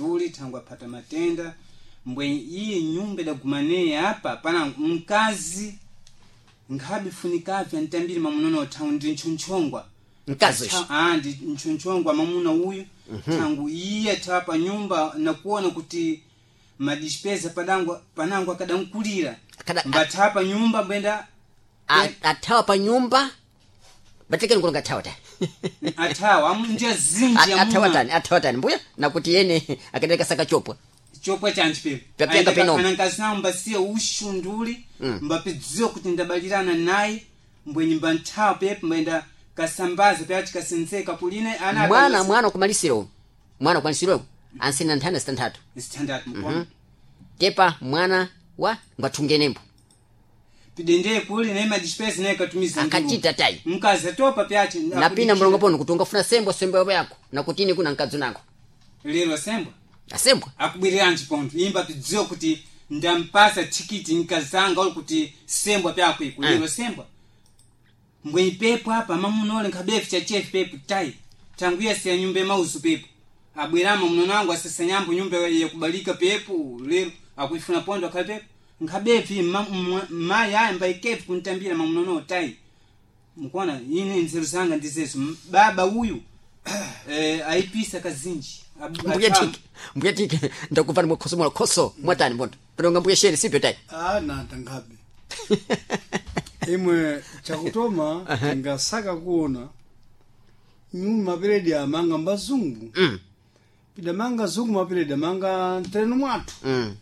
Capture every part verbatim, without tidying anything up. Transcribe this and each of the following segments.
nduli thangu aphata matenda mbwe iye nyumba idagumaneye apa pana mkazi nkhabe funikapya ntambiri mamunono thangu ndi ntchonchongwa mkazi Tha- ah ndi ntchonchongwa mamuna uyu thangu iye athawa pa nyumba nakuona kuti madispeza padangu panangu akadankulira Akada- mbathawa pa nyumba mbwenda athawa pa nyumba batekeni kulonga athawa ta athawa amu ndiye zinji athawa amuna tani athawa tani mbuya nakuti yene akadeka saka chopwa chopwa chanji pepo Papyanga penomo. anankazi nawo mbasiye ushunduli mbapidziwa kuti ndabalirana naye mbwenyi mbanthawa pepo mbayenda kasambaza pyachi kasenzeka kuline ana mwana akalosi- mwana kumalisiro uyu. mwana kumalisiro ansina nthana zitanthatu zitandatu mkono tepa mwana wa ngwathungenembo pidendeye kuli naye madispesa naye katumiza ndulu. Akachita tayi. mkazi atopa pyachi napina mlongo pono kuti ungafuna sembwa sembwa yako nakutini kuna mkazi nango lero sembwa asembwa akubwiriranji pontho imba pidziwa kuti ndampasa thikiti nkazanga uli kuti sembwa pyako iku lero sembwa mbwenyi pepo apa mamuna ole nkhabefu chachefu pepo tayi tangu yese ya nyumba yamauzu pepo abwerama mnono wangu asasanyambo nyumba yakubalika pepo lero akuifuna pondo akhale pepo nkhabefu mayi aya mbaikefu kuntambira mamunono tayi mukuona ine nzeru zanga ndizezo M- baba uyu eh, aipisa kazinji Abu- mbuya athawa- tike mbuya tike ndakupani mwakhoso mwa khoso mwatani mbondo panonga mbuya sheni sipyo tayi ah nanta nkhabe imwe chakutoma tingasaka kuona nyumba mapiredi amanga mbazungu mm pidamanga zungu mapiredi amanga mtereno mwathu mm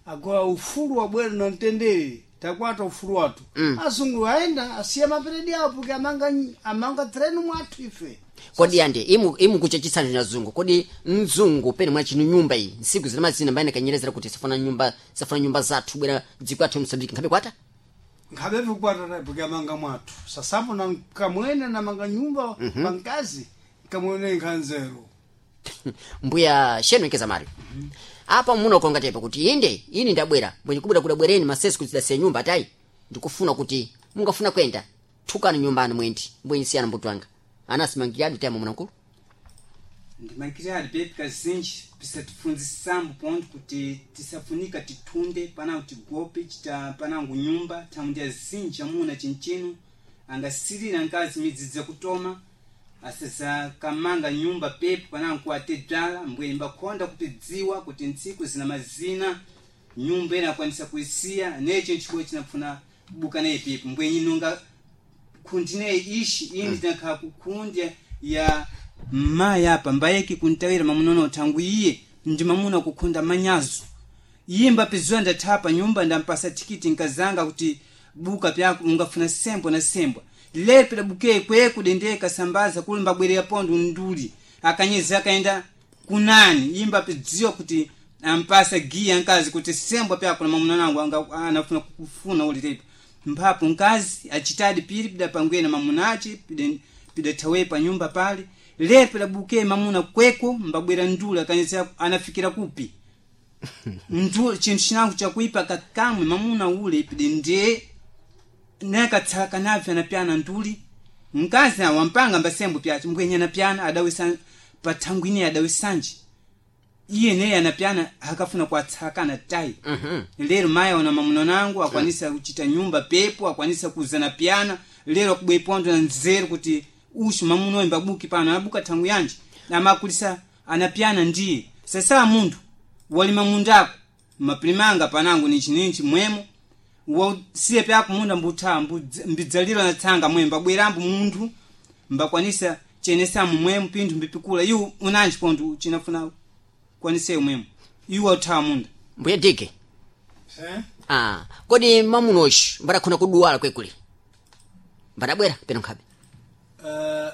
agora ufulu wabwera na mtendere takwata ufulu wathu Mm. azungu aenda asiya mapiredi awo porque amanga amanga tereno mwathu ife kodi ande imu imu kuchechisana na zungu kodi mzungu pene mwachinu nyumba iyi nsiku zina mazina mbayene kanyerezera kuti safuna nyumba safuna nyumba zathu bwera dziko athu msambiki nkhabe kwata nkhabe kukwata porque amanga mwathu sasapo na kamwene namanga nyumba mm -hmm. pankazi kamwene nkhanzero mbuya shenu ikeza mari apa muno konga tepa kuti inde ini ndabwera mwenye kubwera kudabwereni masesi kuti sidasiya nyumba tayi ndikufuna kuti mungafuna kwenda thukani nyumbani mwendi mbwenye siyana mbuto wanga anasimangiradi tayama munankulu ndimakiradi pepi kazinji pisatifunzisambo ponto kuti tisafunika tithunde panango tigope chita panango nyumba thamundi azinji amuna chinchino angasilira nkazi midzidzi kutoma asazakamanga nyumba pepo panango kuate bzala mbwe mbakhonda kupidziwa kuti ntsiku zina mazina nyumba ena akwanisa kuisiya necho nchikuwa chinafuna kubuka naye pepo mbwe inonga khundi naye ishi ini tinakhala kukhundi ya mayi apa mbayeki kuntawira mamunono thangu iye ndi mamuna kukhunda manyazo iye mbapiziwa ndathapa nyumba ndampasa thikiti nkazanga kuti buka pyako ungafuna sembwa na sembwa lepe labuke kweku dendeye kasambaza kuli mbabwerera pondo nduli akanyezi akaenda kunani iye mbapidziwa kuti ampasa giya nkazi kuti sembwa pyako na mamuna nangu anga- anafuna kukufuna uli tepa mphapo nkazi achitadi pili pidapangwena mamunachi pide- pidathawe pa nyumba pale lepe labuke mamuna kweko mbabwera nduli akanyezi anafikira kupi ndu chinthu chinango chakuipa kakamwe mamuna ule pide ndiye nakatsaka nabve anapyana nduli mkazi awo wampanga mbasembo pyace mbwenye anapyana adawisa pathangu ine adawisanji iye neye anapyana akafuna kuatsakana tayi Mhm. lero mayi ona mamuna nangu akwanisa kuchita nyumba pepo akwanisa kuzana pyana lero akubwepondo na nzeru kuti ushu mamuna oyo mbabuki pano anabuka thangu yanji amakulisa anapyana ndiye sasa munthu walima mundako mapilimanga panangu nichininchi mwemo wasiye pyako munda mbutha mbidzalira na tsanga mwe mbabwerambo munthu mbakwanisa chenesamu mwemo pinthu mbipikula iwo unanji pontho chinafuna kwaniseyo mwemo iwo uthawa munda mbuya dike eh? ah kodi mamunoshi mbadakhona kuduwala kwekuli mbadabwera peno nkhabe uh,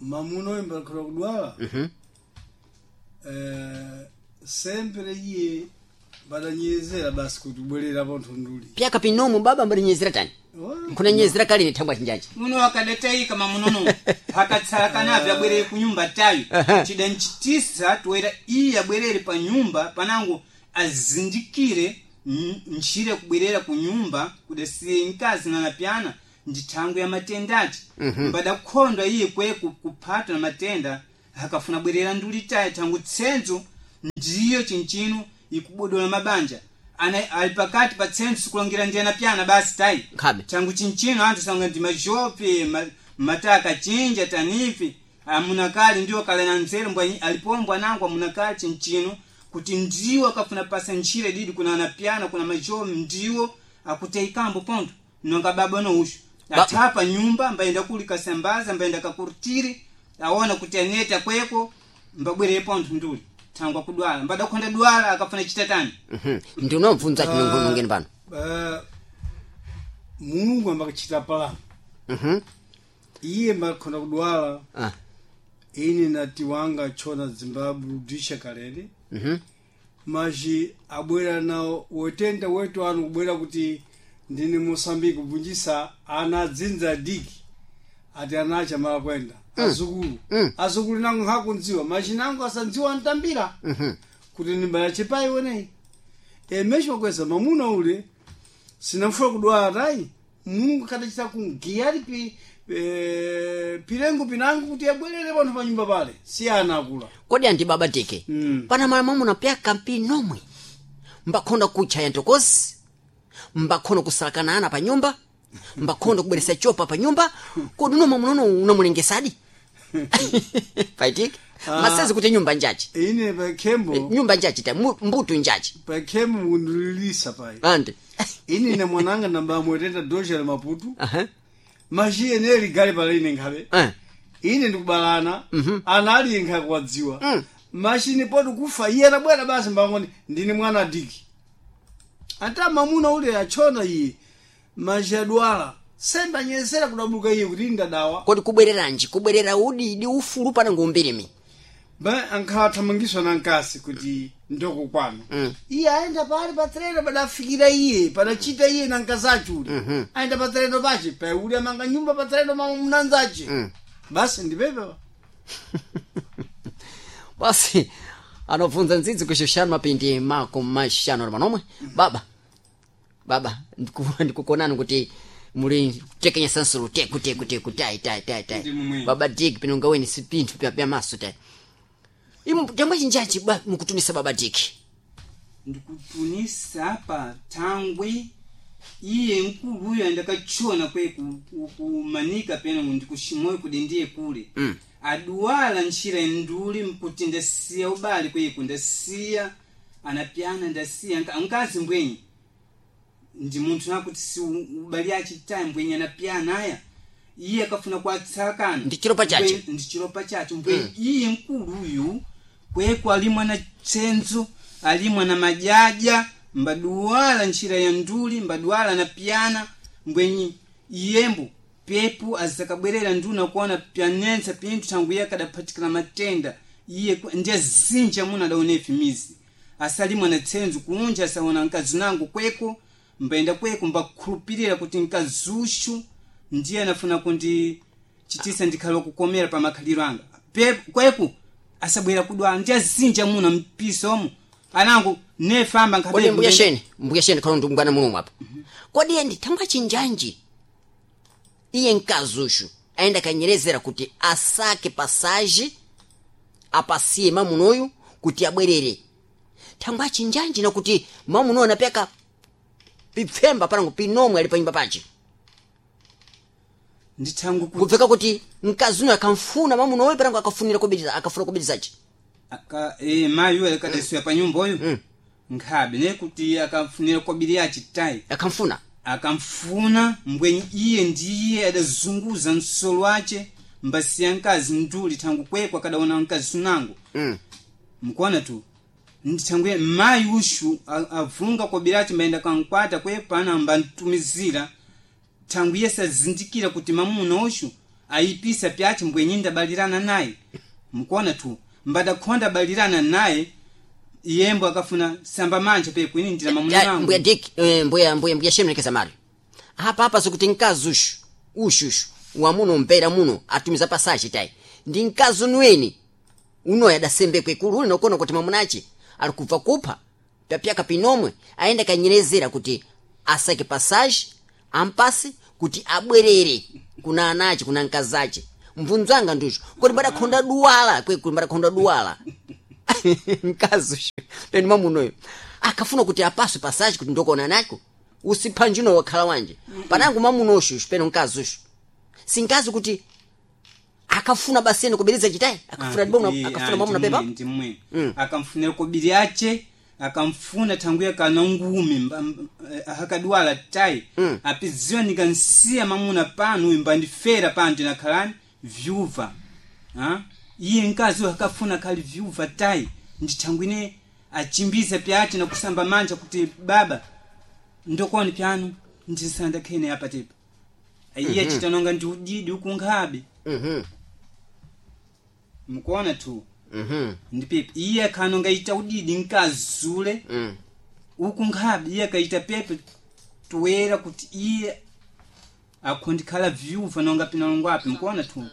mamuno imbalikhola kudwala mhm eh, sempre iye badanyezera basi kuti ubwerera pontho nduli pyaka pinomu baba mbadinyezera tani nkhunanyezera kalini thangwa chinjaji muno akadataika mamunono akatsala kanabe abwerere ku nyumba tayo chidanchitisa toera iye abwerere pa nyumba panango azindikire n- ntchire kubwerera ku nyumba kudasiye mkazi nanapyana ndi thangu ya matenda ati mbadakhondwa iye kwe ku- kuphatwa na matenda akafuna bwerera nduli tayo thangu tsenzo Ndiyo chinchino ikubodola mabanja. Ana ali pakati pa tsentsu kulongira ndi anapyana basi tayi. Nkhabe. Changu chinchino anthu sanga ndi majope ma, mataka chinja tanifi amunakali ndiwo kale na nzeru mbwa alipombwa nangu amunakali chinchino kuti ndiwo akafuna pasa ntchire didi kuna anapyana kuna majope ndiwo akuteikambo ponto nonga baba no ushu Ba- athapa nyumba mbayenda kuli kasambaza mbayenda kakurtiri aona kuti aneta kweko mbabwere ponto nduli thangwa kudwala mbadakhonda dwala akafuna chitatani. Mhm. Ndinomvunza ati nungeni pano. Eh, Mulungu ambakachita palano. Mhm. Iye mbakhona kudwala. Ah. Ine nati wanga chona Zimbabwe rudisha kalele. Mhm. Maji abwera nawo wetenda wetu anu kubwera kuti ndine Mosambiki kubvunjisa ana adzinza diki ati anacha mala kwenda azukulu. Mm. Azukulu nangu nhakundziwa maji nangu asandziwa ntambira Mhm. kuti ndimbala chipayi weneyi emesho kweza mamuna ule sinamfuna kudwala tayi Mulungu akadachita kungiyali pi eh, pilengo pinangu kuti abwerere panthu pa nyumba pale si ana akula. Kodi andi baba tike Mm. pana mala mwamuna pyaka mpinomwe mbakhonda kutcha ya ntokozi mbakhonda kusalakana ana pa nyumba mbakhonda kubweresa chopa pa nyumba kodi uno mwamunono unamulengesadi paitike? Ah. Masezi kuti nyumba njachi. Ine pakhembo. Nyumba njachi ta mu- mbutu njachi. Pakhembo mukundililisa payi. Andi. Ine na mwananga namba amwetenda doja la Maputo. Aha. Maji ene ligali pala ine nkhabe. Eh. Ine ndikubalana. Mhm. Ana ali nkha kuwadziwa. Mm. Machini poti kufa iye anabwera basi mbangoni ndine mwana diki ata mamuna ule achona iye maji adwala semba nyesera kudabuka iye kuti ndadawa. Kodi kubwereranji kubwerera udidi ufulu pana ngumbirimi? Ba ankhala thamangiswa na nkasi kuti ndoko kwanu. Mm. Iye ayenda pali pa treno padafikira iye padachita iye na nkazachi ule. Mhm. Ayenda pa treno pache pauli amanga nyumba pa treno mama munanzache. Mm. Basi ndipepe. Basi anobvunza ndzidzi kuxixanu mapindi mako maxanu ali manomwe baba baba ndiku- ndikukonani kuti muli kutekenyesa nsulu teku teku teku tai tai tai tai. Ndi mumwe. Baba dik pinonga weni si pinthu pya pya maso tai imu chamba chinjachi ba mukutunisa baba dik. Ndikutunisa apa thangwi iye nkuluyo andakachona kwe ku- ku- kumanika pena ndikuximoyo kuti ndiye kule. Mm. Aduwala ntchira nduli mkuti ndasiya ubali kweku ndasiya anapyana ndasiya nka- nkazi mbwenyi ndi munthu nakuti si u- ubali achitayi mbwenyi anapyana aya iye akafuna kuatsalakana. Ndi chilopa chache. Mbwenyi- ndi chilopa chache mbwenyi iye nkuluyu kweku alimwa na tsenzo alimwa na majaja mbaduwala ntchira ya nduli mbaduwala na pyana mbwenyi iyembo pepu azakabwerera nduna kuona pyanensa pinthu thangwi iye akadaphatikana matenda iye ku- ndiye zinja muno adaonefi mizi asalimwa na tsenzo kunja asaona mkazi nangu kweko mbayenda kweko mbakhulupirira kuti mkazuxu ndiye anafuna kundi chitisa ndikhale kukomera pa makhaliro anga Pe- kweku asabwera kudwala ndiye azinja muno mpiso omo anangu nefamba nkhabe Kodi mbuya sheni mbuya sheni khalo ndikumbwana mulungu apa kodi iye ndi thangwa chinjanji iye mkazuxu ayenda kanyerezera kuti asake pasaji apasiye mamunoyu kuti abwerere thangwa chinjanji nakuti mamunoyu anapeka pipfemba panango pinomwe ali panyumba pace. Ndithangu kuti Kubveka kuti mkazi uno akamfuna mamunoyu panango akafunira kubiriza akafuna kubirizaci. Aka eh mayi uyo akadasiya pa nyumba uyu. Mm. Nkhabe ne kuti akafunira kobiri achitayi. Akamfuna. Akamfuna mbwenyi iye ndiye adazunguza msolo wace mbasiya mkazi nduli thangu kwekwe akadaona mkazi sunango. Mm. Mkuona tu ndithangwe mayi ushu a- avunga kobiri ace mbayenda kankwata kwepana mbantumizira thangu iye sazindikira kuti mamuna ushu ayipisa pyace mbwenyi ndabalirana naye mkuona tu mbadakhonda balirana naye iyembo akafuna samba manja pekwini ndira mamuna Ya, nangu. mbuya dik eh, mbuya mbuya mbuya shemlekeza mali apa apa sikuti mkazi ushu ushushu wamuno mpera muno atumiza pasachi tayi ndi mkazi unweni unoyo adasembekwe kulu uli nokona kuti mamunachi ali kubva kupha pyapyaka pinomwe ayenda kanyerezera kuti asake pasaji ampase kuti abwerere kuna anachi kuna mkazache mvunzo anga ndicho kodi mbadakhonda duwala kwekulu mbadakhonda duwala. Mkazi ushu penu mwamunoyo akafuna kuti apaswe pasaji kuti ndokona nako usipha njino wakhala wanje panangu mwamuno ushu penu mkazi ushu sinkazi kuti akafuna basi ene kubiriza chitayi akafuna dibona akafuna mwamuna pepa. Ndimwe. Mm. Akamfunira kobiri ache akamfuna thanguye kana ngumi mba- mb- eh, akadwala tayi. Mm. Apidziwa nikansiya mamuna pano uyu mbandifera pano tinakhalani vyuva. Ah? Iye mkazi uyu akafuna khali vyuva tayi ndithangwine achimbiza pyache na kusamba manja kuti baba ndokoni pyano ndisanda khene apa tepa iye chitanonga ndi udidi ukunkhabe. Mhm. Mukuona tu. Mhm. Ndipepe iye akhanonga ita udidi nkazule Mm. uku nkhabe iye akaita pepe toera kuti iye akhondikhala vyuva nonga pinalongwapi mukuona tu.